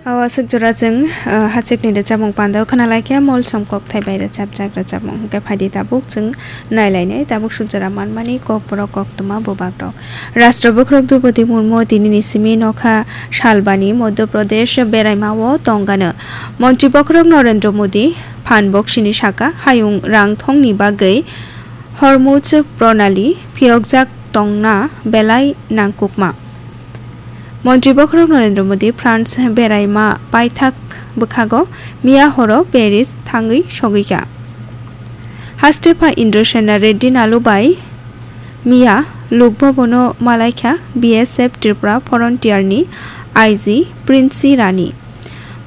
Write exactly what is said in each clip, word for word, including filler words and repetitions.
Awaswk jora chwng, ah, hachwkni rwchapmung pandao khna laikha, molsom kokthai bai rwchapjak rwchapmung. Hwnkhe phaidi tabuk chwng nailainai, tabuk swk jora manmani kokborok koktwma bubagrok. Rashtra bokhorok Droupadi Murmu tinini simi nokha salbani Madhya Pradesh beraimao tongano. Montri bokhorok Narendra Modi phan boksini saka hayung rang thongni bagwi Hormuz Pranali phiyokjak tongna belai nangkukma. Montri bokhorok Narendra Modi France beraima paithak bwkhago miya horo Paris thangwi sogwikha. Haste pha Indrasena Reddy Nalu bai miya Lukbhabono malaikha B S F Tripura Frontier ni I G Princy Rani.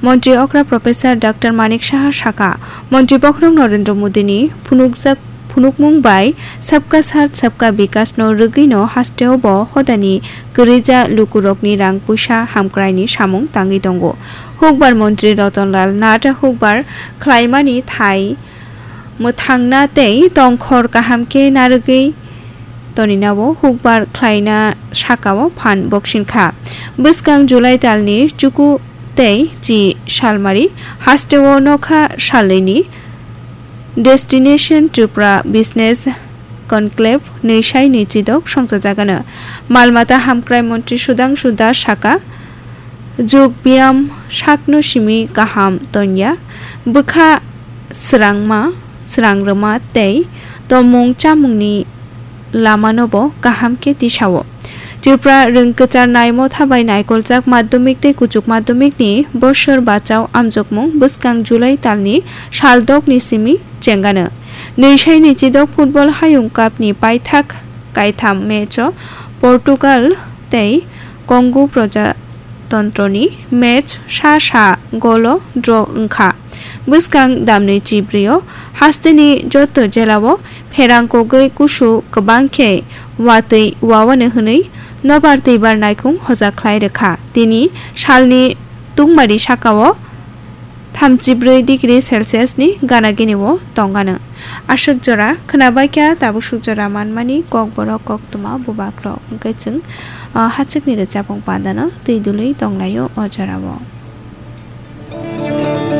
Montri okra Professor Doctor Manik Saha saka, Montri bokhorok Narendra Modi ni phunukjak phunukmung bai Sabka Saath Sabka Vikas no rwgwi no hasteo bo hodani kwrwija lukurokni rang puisa hamkrai ni samung tangwi tongo. Hukbar Montri Ratan Lal Nath hukbar khlaimani thai mwthangna tei tongkhor kaham khe narwgwi toninao hukbar khlaina sakao phan boksinkha. Bwskang July talni chuku tei chi salmari hasteo nokha salnwini Destination Tripura Business Conclave nwi sai nwi chidok songchajagano. Malmata hamkrai montri Sudhangshu Das saka, Jug biyam sakno simi kaham tonya, bwkha srangma, srangrwma tei tomung chamungni lamano bo kaham khe tisao. Tripura rwng kwchar nai motha bai naikoljak madhyamik tei kuchuk madhyamikni bosor bachao amjokmung bwskang July talni sal dokni simi chengano. Nwi sai nwi chidok football hayung cup ni paithak kaitham match o Portugal tei Congo Proja tontroni match sa sa golo draw wngkha. Bwskang damni chibrio hasteni joto jelao pherang kogwi kusu kwbang khe watwi wawane hwnwi nobar twibar naikhung hoja khlai rwkha. Tini salni tungmari sakao thamchibrwi degree Celsius ni gana gini o tongano. Aswk jora khwnabaikha, tabuk swk jora manmani kokborok koktwma bubagrok. Hwnkhe chwng, ah, hachwkni rwchapmung pandano twi dului tonglaio o jorao.